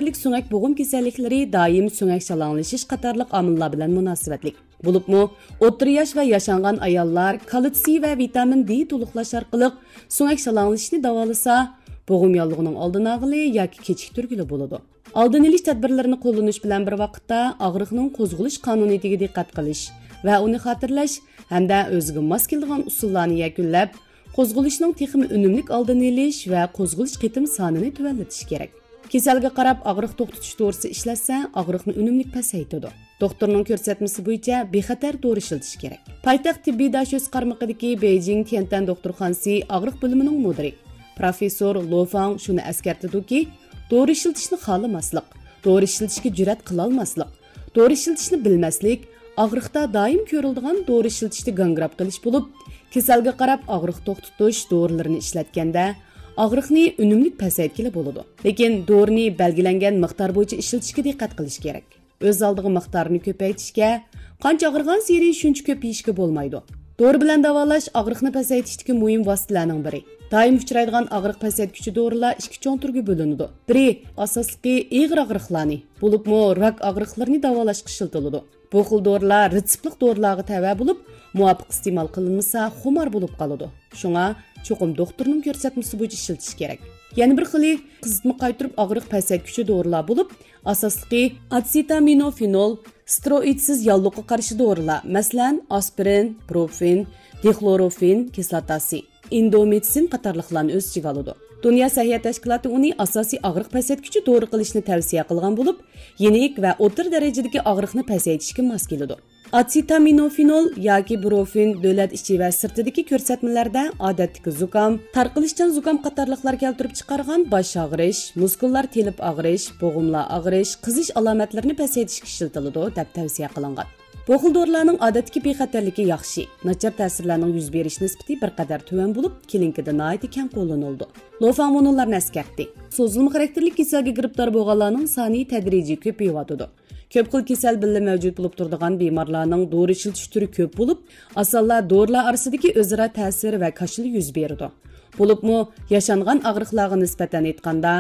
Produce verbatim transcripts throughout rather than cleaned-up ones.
سۈڭەك بوغۇم كېسەللىكلىرى دائىم سۆڭەك شالاڭلىشىش قاتارلىق ئامىللار بىلەن مۇناسىۋەتلىك. بولۇپمۇ، ئوتتۇرا ياش ۋە ياشانغان ئاياللار كالتسىي ۋە ۋىتامىن دې تولۇقلاش ئارقىلىق سۆڭەك شالاڭلىشىشنى داۋالىسا، بوغۇم ياللۇغىنىڭ ئالدىنى ئالغىلى ياكى كېچىكتۈرگىلى بولىدۇ. ئالدىنى ئېلىش تەدبىرلىرىنى قوللىنىش بىلەن بىر ۋاقىتتا، ئاغرىقنىڭ قوزغىلىش قانۇنىيىتىگە دىققەت قىلىش ۋە ئۇنى خاتىرىلەش ھەمدە ئۆزىگە ماس كېلىدىغان ئۇسۇللارنى يەكۈنلەپ، قوزغىلىشنىڭ تېخىمۇ ئۈنۈملۈك ئالدىنى ئېلىش ۋە قوزغىلىش قېتىم سانىنى تۆۋەنلىتىش كېرەك. كېسەلگە قاراپ ئاغرىق توختىتىش دورىسى ئىشلەتسە، ئاغرىقنى ئۈنۈملۈك پەسەيتىدۇ. دوختۇرنىڭ كۆرسەتمىسى بويىچە بىخەتەر دورا ئىشلىتىش كېرەك. پايتەخت تېببىي داشۆسى قارمىقىدىكى بېيجىڭ تيەنتەن دوختۇرخانىسى ئاغرىق بۆلۈمىنىڭ مۇدىرى، پروفېسسور لو فاڭ شۇنى ئەسكەرتىدۇكى، دورا ئىشلىتىشنى خالىماسلىق، دورا ئىشلىتىشكە جۈرئەت قىلالماسلىق، دورا ئىشلىتىشنى بىلمەسلىك ئاغرىقتا دائىم كۆرۈلىدىغان دورا ئىشلىتىشتە گاڭگىراپ قېلىش بولۇپ، كېسەلگە قاراپ ئاغرىق توختىتىش دورىلىرىنى ئىشلەتكەندە، ئاغرىقنى ئۈنۈملۈك پەسەيتكىلى بولىدۇ. لېكىن دورىنى بەلگىلەنگەن مىقدار بويىچە ئىشلىتىشكە دىققەت قىلىش كېرەك. ئۆز ئالدىغا مىقدارىنى كۆپەيتىشكە، قانچە ئاغرىغانسېرى شۇنچە كۆپ يېيىشكە بولمايدۇ. دورا بىلەن داۋالاش ئاغرىقنى پەسەيتىشتىكى مۇھىم ۋاسىتىلەرنىڭ بىرى. دائىم ئۇچرايدىغان ئاغرىق پەسەيتكۈچى دورىلار ئىككى چوڭ تۈرگە بۆلۈنىدۇ. بىرى، ئاساسلىقى ئېغىر ئاغرىقلارنى، بولۇپمۇ راك ئاغرىقلىرىنى داۋالاشقا ئىشلىتىلىدۇ. بۇ خىل دورىلار رېتسېپلىق دورىلارغا تەۋە بولۇپ، مۇۋاپىق ئىستېمال قىلىنمىسا، خۇمار بولۇپ قالىدۇ. شۇڭا چوقۇم دوختۇرنىڭ كۆرسەتمىسى بويىچە ئىشلىتىش كېرەك. يەنە بىر خىلى، قىزىتما قايتۇرۇپ ئاغرىق پەسەيتكۈچى دورىلار بولۇپ، ئاساسلىقى ئاتسېتامىنوفېنول، ستېروئىدسىز ياللۇغقا قارشى دورىلار، مەسىلەن، ئاسپىرىن، بروفېن، دىخلوروفېن كىسلاتاسى، ئىندومىتسىن قاتارلىقلارنى ئۆز ئىچىگە ئالىدۇ. دۇنيا سەھىيە تەشكىلاتى ئۇنى ئاساسىي ئاغرىق پەسەيتكۈچى دورا قىلىشنى تەۋسىيە قىلغان بولۇپ، يېنىك ۋە ئوتتۇرا دەرىجىدىكى ئاغرىقنى پەسەيتىشكە ماس كېلىدۇ. ئاتسېتامىنوفېنول ياكى بروفېن دۆلەت ئىچى ۋە سىرتىدىكى كۆرسەتمىلەردە ئادەتتىكى زۇكام، تارقىلىشچان زۇكام قاتارلىقلار كەلتۈرۈپ چىقارغان باش ئاغرىش، مۇسكۇللار تېلىپ ئاغرىش، بوغۇملار ئاغرىش، قىزىش ئالامەتلىرىنى پەسەيتىشكە ئىشلىتىلىدۇ، دەپ تەۋسىيە قىلىنغان. بۇ خىل دورىلارنىڭ ئادەتتىكى بىخەتەرلىكى ياخشى، ناچار تەسىرلەرنىڭ يۈز بېرىش نىسبىتى بىر قەدەر تۆۋەن بولۇپ، كلىنىكىدا ناھايىتى كەڭ قوللىنىلىدۇ. لوفاڭ مۇنۇلارنى ئەسكەرتتى: سوزۇلما خاراكتېرلىك كېسەلگە گىرىپتار بولغانلارنىڭ سانى تەدرىجىي كۆپىيىۋاتىدۇ. كۆپ خىل كېسەل بىللە مەۋجۇت بولۇپ تۇرىدىغان بىمارلارنىڭ دورا ئىشلىتىش تۈرى كۆپ بولۇپ، ئاسانلا دورىلار ئارىسىدىكى ئۆزئارا تەسىر ۋە كاشىلا يۈز بېرىدۇ. بولۇپمۇ ياشانغان ئاغرىقلارغا نىسبەتەن ئېيتقاندا،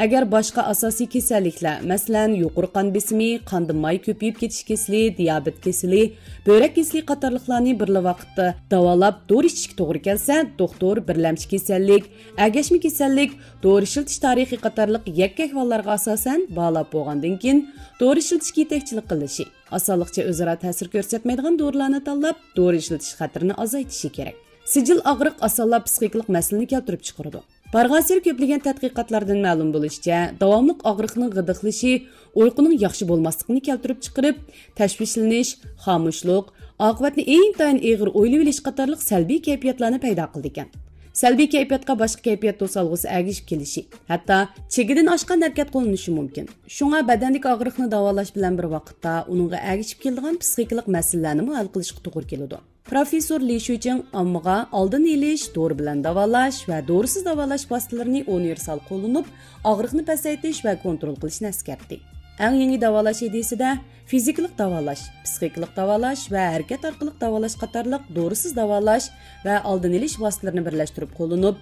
ئەگەر باشقا ئاساسىي كېسەللىكلەر، مەسىلەن، يۇقىرى قان بېسىمى، قاندا ماي كۆپىيىپ كېتىش كېسىلى، دىيابېت كېسىلى، بۆرەك كېسىلى قاتارلىقلارنى بىرلا ۋاقىتتا داۋالاپ، دورا ئىچىشكە توغرا كەلسە، دوختۇر بىرلەمچى كېسەللىك، ئەگەشمە كېسەللىك، دورا ئىشلىتىش تارىخى قاتارلىق يەككە ئەھۋاللارغا ئاساسەن باھالاپ بولغاندىن كېيىن، دورا ئىشلىتىشكە يېتەكچىلىك قىلىشى، ئاسانلىقچە ئۆزئارا تەسىر كۆرسەتمەيدىغان دورىلارنى تاللاپ، دورا ئىشلىتىش خەتىرىنى ئازايتىشى كېرەك. سىجىل ئاغرىق ئاسانلا پىسخىكىلىق مەسىلىنى كەلتۈرۈپ چىقىرىدۇ. بارغانسېرى كۆپلىگەن تەتقىقاتلاردىن مەلۇم بولۇشىچە، داۋاملىق ئاغرىقنىڭ غىدىقلىشى ئۇيقۇنىڭ ياخشى بولماسلىقىنى كەلتۈرۈپ چىقىرىپ، تەشۋىشلىنىش، خامۇشلۇق، ئاقىۋەتنى ئىنتايىن ئېغىر ئويلىۋېلىش قاتارلىق سەلبىي كەيپىياتلارنى پەيدا قىلىدىكەن. سەلبىي كەيپىياتقا باشقا كەيپىيات توسالغۇسى ئەگىشىپ كېلىشى، ھەتتا چېگىدىن ئاشقان ھەرىكەت قوللىنىشى مۇمكىن. شۇڭا بەدەندىكى ئاغرىقنى داۋالاش بىلەن بىر ۋاقىتتا ئۇنىڭغا ئەگىشىپ كېلىدىغان پىسخىكىلىق مەسىلىلەرنىمۇ ھەل قىلىشقا توغرا كېلىدۇ. پروفېسسور لى شۈيچىڭ ئاممىغا ئالدىنى ئېلىش، دورا بىلەن داۋالاش ۋە دورىسىز داۋالاش ۋاسىتىلىرىنى ئۇنىۋېرسال قوللىنىپ، ئاغرىقنى پەسەيتىش ۋە كونترول قىلىشنى ئەسكەرتتى. ئەڭ يېڭى داۋالاش ئىدىيىسىدە فىزىكىلىق داۋالاش، پىسخىكىلىق داۋالاش ۋە ھەرىكەت ئارقىلىق داۋالاش قاتارلىق دورىسىز داۋالاش ۋە ئالدىنى ئېلىش ۋاسىتىلىرىنى بىرلەشتۈرۈپ قوللىنىپ،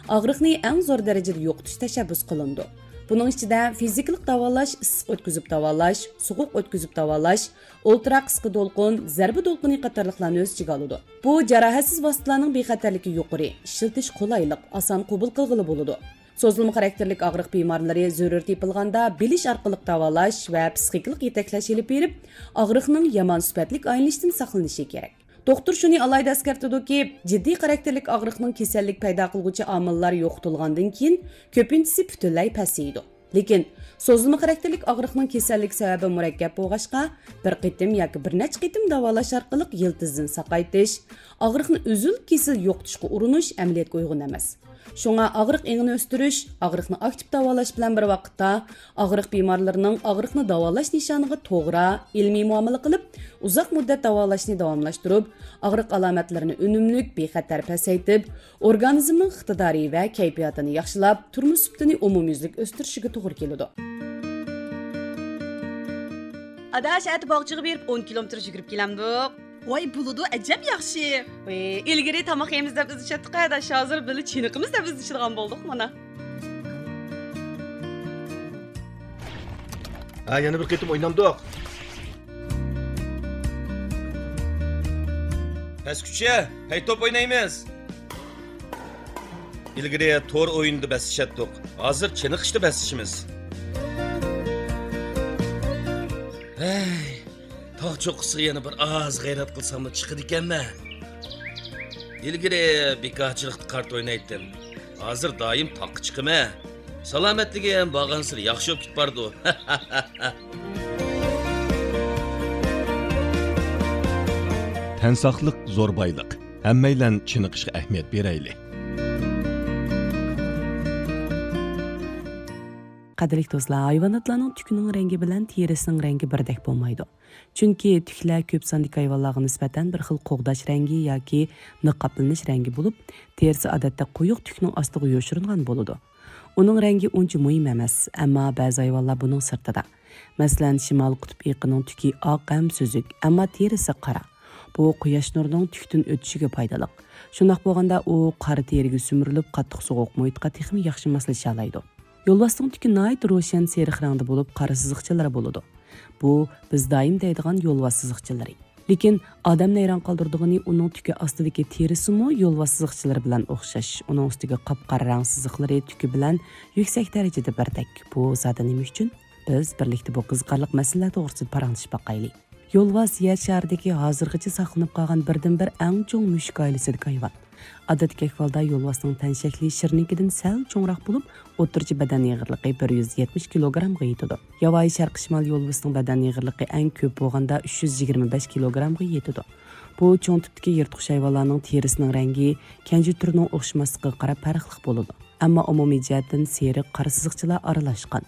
ئاغرىقنى ئەڭ زور دەرىجىدە يوقىتىش تەشەببۇس قىلىنىدۇ. بۇنىڭ ئىچىدە فىزىكىلىق داۋالاش، ئىسسىق ئۆتكۈزۈپ داۋالاش، سوغۇق ئۆتكۈزۈپ داۋالاش، ئولتۇرا قىسقا دولقۇن، زەربە دولقۇنى قاتارلىقلارنى ئۆز ئىچىگە ئالىدۇ. بۇ جاراھەتسىز ۋاسىتىلەرنىڭ بىخەتەرلىكى يۇقىرى، ئىشلىتىش قولايلىق، ئاسان قوبۇل قىلغىلى بولىدۇ. سوزۇلما خاراكتېرلىك ئاغرىق بىمارلىرى زۆرۈر تېپىلغاندا بىلىش ئارقىلىق داۋالاش ۋە پىسخىكىلىق يېتەكلەش ئېلىپ بېرىپ، ئاغرىقنىڭ يامان سۈپەتلىك ئايلىنىشىدىن ساقلىنىشى كېرەك. دوختۇر شۇنى ئالاھىدە ئەسكەرتىدۇكى، جىددىي خاراكتېرلىك ئاغرىقنىڭ كېسەللىك پەيدا قىلغۇچى ئامىللار يوقىتىلغاندىن كېيىن، كۆپىنچىسى پۈتۈنلەي پەسىيىدۇ. لېكىن سوزۇلما خاراكتېرلىك ئاغرىقنىڭ كېسەللىك سەۋەبى مۇرەككەپ بولغاچقا، بىر قېتىم ياكى بىر نەچچە قېتىم داۋالاش ئارقىلىق يىلتىزدىن ساقايتىش، ئاغرىقنى ئۈزۈل-كېسىل يوقىتىشقا ئۇرۇنۇش ئەمەلىيەتكە ئۇيغۇن ئەمەس. شۇڭا ئاغرىق ئېڭىنى ئۆستۈرۈش، ئاغرىقنى ئاكتىپ داۋالاش بىلەن بىر ۋاقىتتا، ئاغرىق بىمارلىرىنىڭ ئاغرىقنى داۋالاش نىشانىغا توغرا، ئىلمىي مۇئامىلە قىلىپ، ئۇزاق مۇددەت داۋالاشنى داۋاملاشتۇرۇپ، ئاغرىق ئالامەتلىرىنى ئۈنۈملۈك، بىخەتەر پەسەيتىپ، ئورگانىزمنىڭ ئىقتىدارى ۋە كەيپىياتىنى ياخشىلاپ، تۇرمۇش سۈپىتىنى ئومۇميۈزلۈك ئۆستۈرۈشىگە توغرا كېلىدۇ. ئاداش، ئەتە باغچىغا بېرىپ ئون كىلومېتىر يۈگۈرۈپ كېلەمدۇق؟ ۋاي، بولىدۇ، ئەجەب ياخشى. ۋاي، ئىلگىرى تاماق يەيمىز دەپ ئىزدىشەتتۇق، ئاداش، ھازىر بىللە چېنىقىمىز دەپ ئىزدىشىدىغان بولدۇق مانا. ھە، يەنە بىر قېتىم ئوينامدۇق؟ پەسكۈچە، پەي توپ ئوينايمىز. ئىلگىرى تور ئويۇنىدا بەسلىشەتتۇق. ھازىر چېنىقىشتا بەسلىشىمىز. ھەي، تاغ چوققىسىغا يەنە بىر ئاز غەيرەت قىلساملا چىقىدىكەنمەن. ئىلگىرى بىكارچىلىقتا كارتا ئوينايتتىم. ھازىر دائىم تاغقا چىقىمەن. سالامەتلىكىم بارغانسېرى ياخشى بولۇپ كېتىپ بارىدۇ. تەن ساقلىق زور بايلىق. ھەممەيلەن چېنىقىشقا ئەھمىيەت بېرەيلى. قەدىرلىك دوستلار، ھايۋاناتلارنىڭ تۈكىنىڭ رەڭگى بىلەن تېرىسىنىڭ رەڭگى بىردەك بولمايدۇ. چۈنكى تۈكلەر كۆپ ساندىكى ھايۋانلارغا نىسبەتەن بىر خىل قوغداش رەڭگى ياكى نىقابلىنىش رەڭگى بولۇپ، تېرىسى ئادەتتە قويۇق تۈكنىڭ ئاستىغا يوشۇرۇنغان بولىدۇ. ئۇنىڭ رەڭگى ئۇنچە مۇھىم ئەمەس، ئەمما بەزى ھايۋانلار بۇنىڭ سىرتىدا. مەسىلەن، شىمالىي قۇتۇپ ئېيىقىنىڭ تۈكى ئاق ھەم سۈزۈك، ئەمما تېرىسى قارا. بۇ قۇياش نۇرىنىڭ تۈكتىن ئۆتۈشىگە پايدىلىق. شۇنداق بولغاندا ئۇ قارا تېرىگە سۈمۈرۈلۈپ، قاتتىق سوغۇق مۇھىتقا تېخىمۇ ياخشى ماسلىشالايدۇ. يولۋاستىڭ تۈكى ناھايىتى روشەن سېرىق رەڭدە بولۇپ، قارا سىزىقچىلىرى بولىدۇ. بۇ بىز دايىم دەيدىغان يولۋاس سىزىقچىلىرى. لېكىن ئادەمنى ھەيران قالدۇرىدىغىنى، ئۇنىڭ تۈكى ئاستىدىكى تېرىسىمۇ يولۋاس سىزىقچىلىرى بىلەن ئوخشاش. ئۇنىڭ ئۈستىگە قاپقارا رەڭ سىزىقلىرى تۈكى بىلەن يۈكسەك دەرىجىدە بىردەك. بۇ زادى نېمە ئۈچۈن؟ بىز بىرلىكتە بۇ قىزىقارلىق مەسىلىلەر توغرىسىدا پاراڭلىشىپ باقايلى. يولۋاس يەر شارىدىكى ھازىرغىچە ساقلىنىپ قالغان بىردىنبىر ئەڭ چوڭ مۈشۈك ئائىلىسىدىكى ھايۋان. ئادەتتىكى ئەھۋالدا يولۋاسنىڭ تەن شەكلى شىرنىڭكىدىن سەل چوڭراق بولۇپ، ئوتتۇرىچە بەدەن ئېغىرلىقى بىر يۈز يەتمىش كىلوگرامغا يېتىدۇ. ياۋايى شەرقىي شىمال يولۋىسىنىڭ بەدەن ئېغىرلىقى ئەڭ كۆپ بولغاندا ئۈچ يۈز يىگىرمە بەش كىلوگرامغا يېتىدۇ. بۇ چوڭ تىپتىكى يىرتقۇچ ھايۋانلارنىڭ تېرىسىنىڭ رەڭگى كەنجى تۈرىنىڭ ئوخشىماسلىقىغا قاراپ پەرقلىق بولىدۇ. ئەمما ئومۇمىي جەھەتتىن سېرىق، قارا سىزىقچىلار ئارىلاشقان.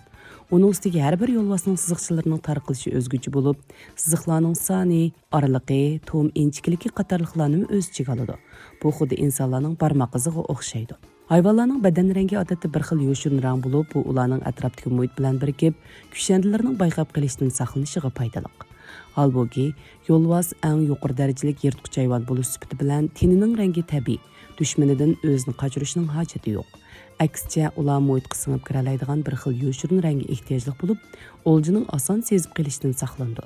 ئۇنىڭ ئۈستىگە ھەر بىر يولۋاسنىڭ سىزىقچىلىرىنىڭ تارقىلىشى ئۆزگىچە بولۇپ، سىزىقلارنىڭ سانى، ئارىلىقى، تۇخۇم ئىنچىكىلىكى قاتارلىقلارنىمۇ ئۆز ئىچىگە ئالىدۇ. بۇ خۇددى ئىنسانلارنىڭ بارماق ئىزىغا ئوخشايدۇ. ھايۋانلارنىڭ بەدەن رەڭگى ئادەتتە بىر خىل يوشۇرۇن رەڭ بولۇپ، بۇ ئۇلارنىڭ ئەتراپتىكى مۇھىت بىلەن بىرىكىپ، كۈشەندىلىرىنىڭ بايقاپ قېلىشتىن ساقلىنىشىغا پايدىلىق. ھالبۇكى، يولۋاس ئەڭ يۇقىرى دەرىجىلىك يىرتقۇچ ھايۋان بولۇش سۈپىتى بىلەن تېنىنىڭ رەڭگى تەبىئىي، دۈشمىنىدىن ئۆزىنى قاچۇرۇشنىڭ ھاجىتى يوق. ئەكسىچە، ئۇلار مۇھىتقا سىڭىپ كىرەلەيدىغان بىر خىل يوشۇرۇن رەڭگە ئېھتىياجلىق بولۇپ، ئولجىنىڭ ئاسان سېزىپ قېلىشىدىن ساقلىنىدۇ.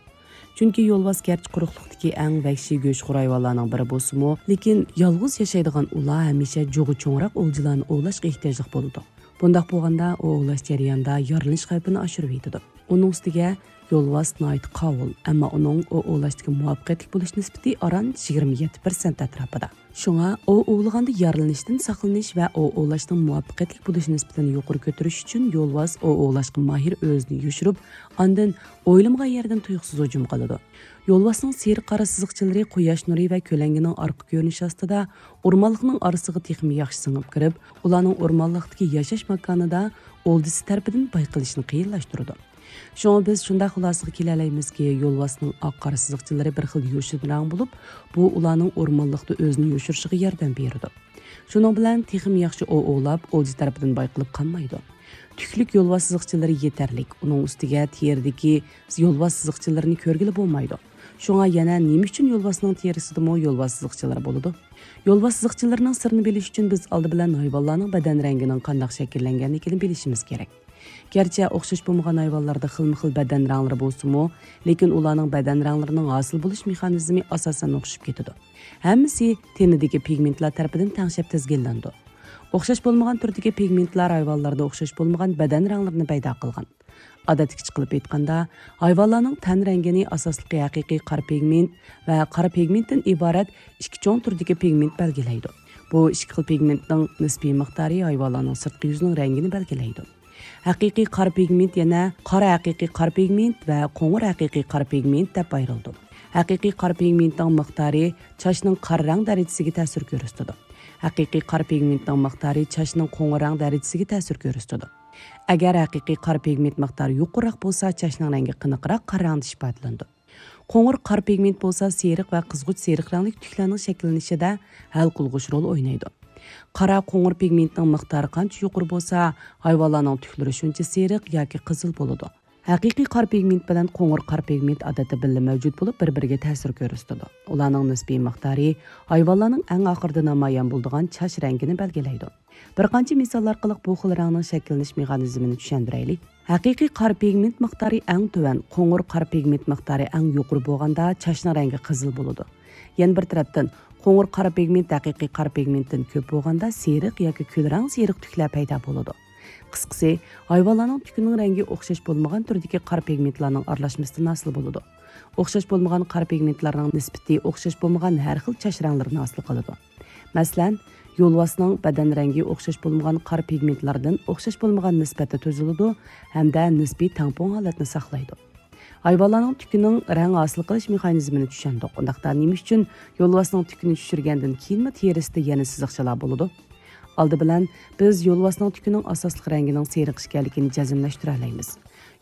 چۈنكى يولۋاس گەرچە قۇرۇقلۇقتىكى ئەڭ ۋەھشىي گۆشخور ھايۋانلارنىڭ بىرى بولسىمۇ، لېكىن يالغۇز ياشايدىغان ئۇلار ھەمىشە جۇغى چوڭراق ئولجىلارنى ئوۋلاشقا ئېھتىياجلىق بولىدۇ. بۇنداق بولغاندا، ئۇ ئوۋلاش جەريانىدا يارىلىنىش خەۋپىنى ئاشۇرۇۋېتىدۇ. ئۇنىڭ ئۈستىگە يولۋاس ناھايىتى قاۋۇل، ئەمما ئۇنىڭ ئوۋ ئوۋلاشتىكى مۇۋەپپەقىيەتلىك بولۇش نىسبىتى ئاران يىگىرمە يەتتە پىرسەنت ئەتراپىدا. شۇڭا ئوۋ ئوۋلىغاندا يارىلىنىشتىن ساقلىنىش ۋە ئوۋ ئوۋلاشنىڭ مۇۋەپپەقىيەتلىك بولۇش نىسبىتىنى يۇقىرى كۆتۈرۈش ئۈچۈن يولۋاس ئوۋ ئوۋلاشقا ماھىر ئۆزىنى يوشۇرۇپ، ئاندىن ئويلىمىغان يەردىن تۇيۇقسىز ھۇجۇم قىلىدۇ. يولۋاسنىڭ سېرىق قارا سىزىقچىلىرى قۇياش نۇرى ۋە كۆلەڭگىنىڭ ئارقا كۆرۈنۈشى ئاستىدا ئورمانلىقنىڭ ئارىسىغا تېخىمۇ ياخشى سىڭىپ كىرىپ، ئۇلارنىڭ ئورمانلىقتىكى ياشاش ماكانىدا ئولجىسى تەرىپىدىن بايقىلىشىنى قىيىنلاشتۇرىدۇ. شۇڭا بىز شۇنداق خۇلاسىغا كېلەلەيمىزكى، يولۋاسنىڭ ئاق قارا سىزىقچىلىرى بىر خىل يوشۇرۇن رەڭ بولۇپ، بۇ ئۇلارنىڭ ئورمانلىقتا ئۆزىنى يوشۇرۇشىغا ياردەم بېرىدۇ. شۇنىڭ بىلەن تېخىمۇ ياخشى ئوۋ ئوۋلاپ، ئولجا تەرىپىدىن بايقىلىپ قالمايدۇ. تۈكلۈك يولۋاس سىزىقچىلىرى يېتەرلىك. ئۇنىڭ ئۈستىگە تېرىدىكى يولۋاس سىزىقچىلىرىنى كۆرگىلى بولمايدۇ. شۇڭا يەنە نېمە ئۈچۈن يولۋاسنىڭ تېرىسىدىمۇ يولۋاس سىزىقچىلىرى بولىدۇ؟ يولۋاس سىزىقچىلىرىنىڭ سىرىنى بىلىش ئۈچۈن بىز ئالدى بىلەن ھايۋانلارنىڭ بەدەن رەڭگىنىڭ قانداق شەكىللەنگەنلىكىنى بىلىشىمىز كېرەك. گەرچە ئوخشاش بولمىغان ھايۋانلاردا خىلمۇ خىل بەدەن رەڭلىرى بولسىمۇ، لېكىن ئۇلارنىڭ بەدەن رەڭلىرىنىڭ ھاسىل بولۇش مېخانىزمى ئاساسەن ئوخشىشىپ كېتىدۇ. ھەممىسى تېنىدىكى پىگمېنتلار تەرىپىدىن تەڭشەپ تىزگىنلىنىدۇ. ئوخشاش بولمىغان تۈردىكى پىگمېنتلار ھايۋانلاردا ئوخشاش بولمىغان بەدەن رەڭلىرىنى پەيدا قىلغان. ئادەتتىكىچە قىلىپ ئېيتقاندا، ھايۋانلارنىڭ تەن رەڭگىنى ئاساسلىقى ھەقىقىي قارا پىگمېنت ۋە قارا پىگمېنتتىن ئىبارەت ئىككى چوڭ تۈردىكى پىگمېنت بەلگىلەيدۇ. بۇ ئىككى خىل پىگمېنتنىڭ نىسپىي مىقدارى ھايۋانلارنىڭ سىرتقى يۈزىنىڭ رەڭگىنى بەلگىلەيدۇ. ھەقىقىي قارا پىگمېنت يەنە قارا ھەقىقىي قارا پىگمېنت ۋە قوڭۇر ھەقىقىي قارا پىگمېنت دەپ ئايرىلىدۇ. ھەقىقىي قارا پىگمېنتنىڭ مىقدارى چاچنىڭ قارا رەڭ دەرىجىسىگە تەسىر كۆرسىتىدۇ. ھەقىقىي قارا پىگمېنتنىڭ مىقدارى چاچنىڭ قوڭۇر رەڭ دەرىجىسىگە تەسىر كۆرسىتىدۇ. ئەگەر ھەقىقىي قارا پىگمېنت مىقدارى يۇقىرىراق بولسا، چاچنىڭ رەڭگى قېنىقراق قارا رەڭدە ئىپادىلىنىدۇ. قوڭۇر قارا پىگمېنت بولسا سېرىق ۋە قىزغۇچ سېرىق رەڭلىك تۈكلەرنىڭ شەكىللىنىشىدە ھەل قىلغۇچ رول ئوينايدۇ. قارا قوڭۇر پىگمېنتنىڭ مىقدارى قانچە يۇقىرى بولسا، ھايۋانلارنىڭ تۈكلىرى شۇنچە سېرىق ياكى قىزىل بولىدۇ. ھەقىقىي قارا پىگمېنت بىلەن قوڭۇر قارا پىگمېنت ئادەتتە بىللە مەۋجۇت بولۇپ، بىر-بىرىگە تەسىر كۆرسىتىدۇ. ئۇلارنىڭ نىسپىي مىقدارى ھايۋانلارنىڭ ئەڭ ئاخىرىدا نامايان بولىدىغان چاچ رەڭگىنى بەلگىلەيدۇ. بىر قانچە مىسال ئارقىلىق بۇ خىل رەڭنىڭ شەكىللىنىش مېخانىزمىنى چۈشەندۈرەيلى. ھەقىقىي قارا پىگمېنت مىقدارى ئەڭ تۆۋەن، قوڭۇر قارا پىگمېنت مىقدارى ئەڭ يۇقىرى بولغاندا، چاچنىڭ رەڭگى قىزىل بولىدۇ. يەنە بىر تەرەپتىن، قوڭۇر قارا پىگمېنت ھەقىقىي قارا پىگمېنتتىن كۆپ بولغاندا، سېرىق ياكى كۈلرەڭ سېرىق تۈكلەر پەيدا بولىدۇ. قىسقىسى، ھايۋانلارنىڭ تۈكىنىڭ رەڭگى ئوخشاش بولمىغان تۈردىكى قارا پىگمېنتلارنىڭ ئارىلاشمىسىدىن ھاسىل بولىدۇ. ئوخشاش بولمىغان قارا پىگمېنتلارنىڭ نىسبىتى ئوخشاش بولمىغان ھەر خىل چاچ رەڭلىرىنى ھاسىل قىلىدۇ. مەسىلەن، يولۋاسنىڭ بەدەن رەڭگى ئوخشاش بولمىغان قارا پىگمېنتلاردىن ئوخشاش بولمىغان نىسبەتتە تۈزۈلىدۇ ھەمدە نىسپىي تەڭپۇڭ ھالەتنى ساقلايدۇ. ھايۋانلارنىڭ تۈكىنىڭ رەڭ ھاسىل قىلىش مېخانىزمىنى چۈشەندۇق. ئۇنداقتا نېمە ئۈچۈن يولۋاسنىڭ تۈكىنى چۈشۈرگەندىن كېيىنمۇ تېرىسىدە يەنە سىزىقچىلار بولىدۇ؟ ئالدى بىلەن بىز يولۋاسنىڭ تۈكىنىڭ ئاساسلىق رەڭگىنىڭ سېرىق ئىكەنلىكىنى جەزملەشتۈرەلەيمىز.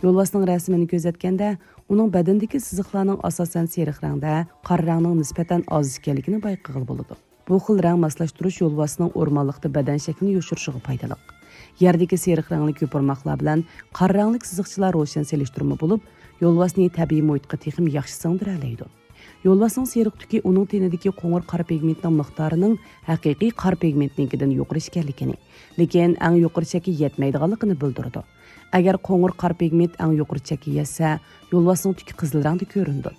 يولۋاسنىڭ رەسىمىنى كۆزەتكەندە، ئۇنىڭ بەدىنىدىكى سىزىقلارنىڭ ئاساسەن سېرىق رەڭدە، قارا رەڭنىڭ نىسبەتەن ئاز ئىكەنلىكىنى بايقىغىلى بولىدۇ. بۇ خىل رەڭ ماسلاشتۇرۇش يولۋاسنىڭ ئورمانلىقتا بەدەن شەكلىنى يوشۇرۇشىغا پايدىلىق. يەردىكى سېرىق رەڭلىك يوپۇرماقلار بىلەن قارا رەڭلىك سىزىقچىلار روشەن سېلىشتۇرما بولۇپ، يولۋاسنى تەبىئىي مۇھىتقا تېخىمۇ ياخشى سىڭدۈرەلەيدۇ. يولۋاسنىڭ سېرىق تۈكى ئۇنىڭ تېنىدىكى قوڭۇر قارا پىگمېنتنىڭ مىقدارىنىڭ ھەقىقىي قارا پىگمېنتنىڭكىدىن يۇقىرى ئىكەنلىكىنى، لېكىن ئەڭ يۇقىرى چەككە يەتمەيدىغانلىقىنى بىلدۈرىدۇ. ئەگەر قوڭۇر قارا پىگمېنت ئەڭ يۇقىرى چەككە يەتسە، يولۋاسنىڭ تۈكى قىزىل رەڭدە كۆرۈنىدۇ.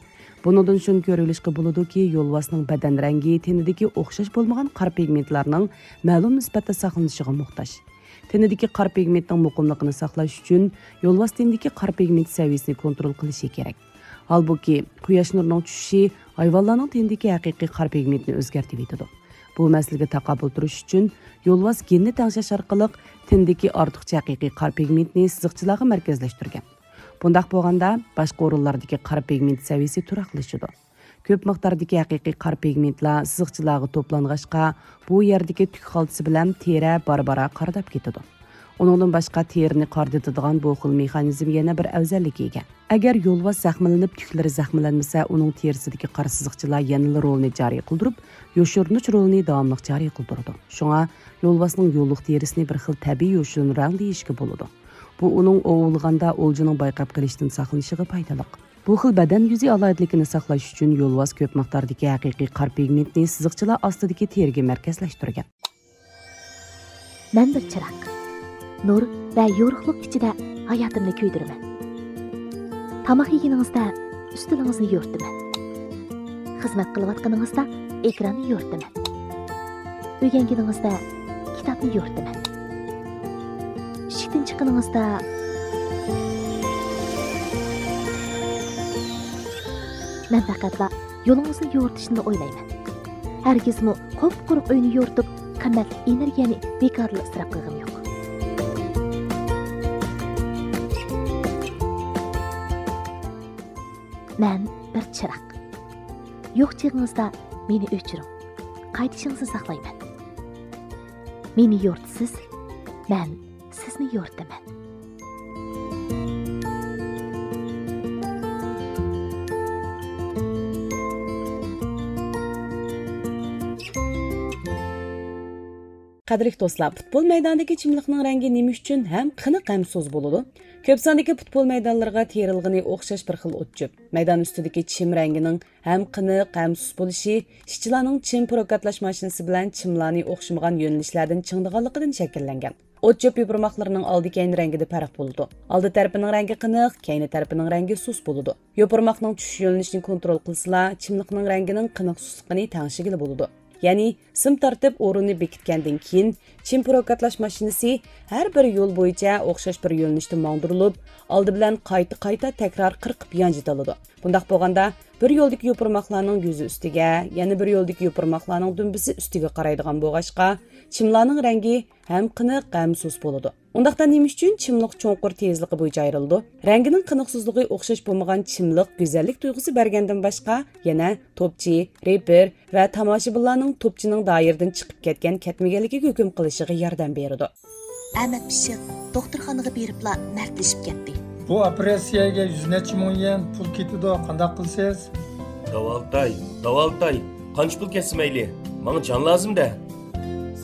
بۇنىڭدىن شۇنى كۆرۈۋېلىشقا بولىدۇكى، يولۋاسنىڭ بەدەن رەڭگى تېنىدىكى ئوخشاش بولمىغان قارا پىگمېنتلارنىڭ مەلۇم نىسبەتتە ساقلىنىشىغا موھتاج. تېنىدىكى قارا پىگمېنتنىڭ مۇقىملىقىنى ساقلاش ئۈچۈن يولۋاس تېنىدىكى قارا پىگمېنت سەۋىيەسىنى كونترول قىلىشى كېرەك. ھالبۇكى، قۇياش نۇرىنىڭ چۈشۈشى ھايۋانلارنىڭ تېنىدىكى ھەقىقىي قارا پىگمېنتنى ئۆزگەرتىۋېتىدۇ. بۇ مەسىلىگە تاقابىل تۇرۇش ئۈچۈن يولۋاس گېننى تەڭشەش ئارقىلىق تېنىدىكى ئارتۇقچە ھەقىقىي قارا پىگمېنتنى سىزىقچىلارغا مەركەزلەشتۈرگەن. بۇنداق بولغاندا، باشقا ئورۇنلاردىكى قارا پىگمېنت سەۋىيەسى تۇراقلىشىدۇ. كۆپ مىقداردىكى ھەقىقىي قارا پىگمېنتلار سىزىقچىلارغا توپلانغاچقا، بۇ يەردىكى تۈك خالتىسى بىلەن تېرە بارا-بارا قارىداپ كېتىدۇ. ئۇنىڭدىن باشقا، تېرىنى قارىدىتىدىغان بۇ خىل مېخانىزم يەنە بىر ئەۋزەللىككە ئىگە. ئەگەر يولۋاس زەخىملىنىپ، تۈكلىرى زەخىملەنمىسە، ئۇنىڭ تېرىسىدىكى قارا سىزىقچىلار يەنىلا رولىنى جارى قىلدۇرۇپ، يوشۇرۇنۇش رولىنى داۋاملىق جارى قىلدۇرىدۇ. شۇڭا يولۋاسنىڭ يوللۇق تېرىسىنى بىر خىل تەبىئىي يوشۇرۇن رەڭ دېيىشكە بولىدۇ. بۇ ئۇنىڭ ئوۋلىغاندا ئولجىنىڭ بايقاپ قېلىشتىن ساقلىنىشىغا پايدىلىق. بۇ خىل بەدەن يۈزى ئالاھىدىلىكىنى ساقلاش ئۈچۈن يولۋاس كۆپ مىقداردىكى ھەقىقىي قارا پىگمېنتنى سىزىقچىلار ئاستىدىكى تېرىگە مەركەزلەشتۈرگەن. مەن بىر چىراغ. نۇر ۋە يورۇقلۇق ئىچىدە ھاياتىمنى كۆيدۈرىمەن. تاماق يېگىنىڭىزدە ئۈستىلىڭىزنى يورۇتىمەن. خىزمەت قىلىۋاتقىنىڭىزدا ئېكراننى يورۇتىمەن. ئۆگەنگىنىڭىزدە كىتابنى يورۇتىمەن. ئىشىكتىن چىققىنىڭىزدا مەن پەقەتلا يولىڭىزنى يورۇتۇشنىلا ئويلايمەن. ھەرگىزمۇ قۇپقۇرۇق ئۆينى يورۇتۇپ، قىممەتلىك ئېنېرگىيەنى بىكارلا ئىسراپ قىلغىنىم يوق. مەن بىر چىراغ. يوق چېغىڭىزدا مېنى ئۆچۈرۈڭ. قايتىشىڭىزنى ساقلايمەن. مېنى يورۇتىسىز، مەن سىزنى يورۇتىمەن. قەدىرلىك دوستلار، پۇتبول مەيدانىدىكى چىملىقنىڭ رەڭگى نېمە ئۈچۈن ھەم قېنىق ھەم سۇس بولىدۇ؟ كۆپ ساندىكى پۇتبول مەيدانلىرىغا تېرىلغىنى ئوخشاش بىر خىل ئوت-چۆپ. مەيدان ئۈستىدىكى چىم رەڭگىنىڭ ھەم قېنىق ھەم سۇس بولۇشى ئىشچىلارنىڭ چىم پروكاتلاش ماشىنىسى بىلەن چىملارنى ئوخشىمىغان يۆنىلىشلەردىن چىڭىدىغانلىقىدىن شەكىللەنگەن. ئوت-چۆپ يوپۇرماقلىرىنىڭ ئالدى-كەينى رەڭگىدە پەرق بولىدۇ. ئالدى تەرىپىنىڭ رەڭگى قېنىق، كەينى تەرىپىنىڭ رەڭگى سۇس بولىدۇ. يوپۇرماقنىڭ چۈشۈش يۆنىلىشىنى كونترول قىلسىلا، چىملىقنىڭ رەڭگىنىڭ قېنىق-سۇسلۇقىنى تەڭشىگىلى بولىدۇ. يەنى، سىم تارتىپ ئورۇننى بېكىتكەندىن كېيىن، چىم پروكاتلاش ماشىنىسى ھەر بىر يول بويىچە ئوخشاش بىر يۆنىلىشتە ماڭدۇرۇلۇپ، ئالدى بىلەن قايتا-قايتا تەكرار قىرقىپ يانجىتىلىدۇ. بۇنداق بولغاندا، بىر يولدىكى يوپۇرماقلارنىڭ يۈزى ئۈستىگە، يەنە بىر يولدىكى يوپۇرماقلارنىڭ دۈمبىسى ئۈستىگە قارايدىغان بولغاچقا، چىملارنىڭ رەڭگى ھەم قېنىق، ھەم سۇس بولىدۇ. ئۇنداقتا نېمە ئۈچۈن چىملىق چوڭقۇر تېزلىقى بويىچە ئايرىلىدۇ؟ رەڭگىنىڭ قېنىق-سۇسلۇقى ئوخشاش بولمىغان چىملىق گۈزەللىك تۇيغۇسى بەرگەندىن باشقا، يەنە توپچى، رېپېر ۋە تاماشىبىنلارنىڭ توپچىنىڭ دائىرىدىن چىقىپ كەتكەن كەتمىگەنلىكىگە ھۆكۈم قىلىشىغا ياردەم بېرىدۇ. ئەمەت پىششىق دوختۇرخانىغا بېرىپلا مەردلىشىپ كەتتى. بۇ ئوپېراتسىيەگە يۈز نەچچە مىڭ يۈەن پۇل كېتىدۇ، قانداق قىلىسىز؟ داۋالىتاي، داۋالىتاي، قانچە پۇل كەتسە مەيلى، ماڭا جان لازىم-دە.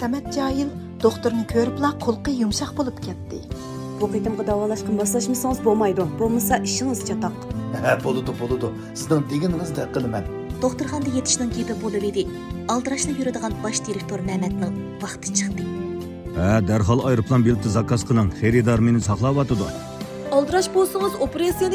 سەمەت جاھىل دوختۇرنى كۆرۈپلا قۇلىقى يۇمشاق بولۇپ كەتتى. بۇ قېتىمقى داۋالاشقا ماسلاشمىسىڭىز بولمايدۇ، بولمىسا ئىشىڭىز چاتاق. ھە، بولىدۇ، بولىدۇ. سىزنىڭ دېگىنىڭىزدەك قىلىمەن. دوختۇرخانىدا يېتىشنىڭ گېپى بولۇۋىدى. ئالدىراشلا يۈرىدىغان باش دىرېكتور مەمەتنىڭ ۋاقتى چىقتى. ھە، دەرھال ئايروپىلان بېلىتى زاكاز قىلىڭ، خېرىدار مېنى ساقلاۋاتىدۇ. ئالدىراش بولسىڭىز، ئوپېراتسىيەنى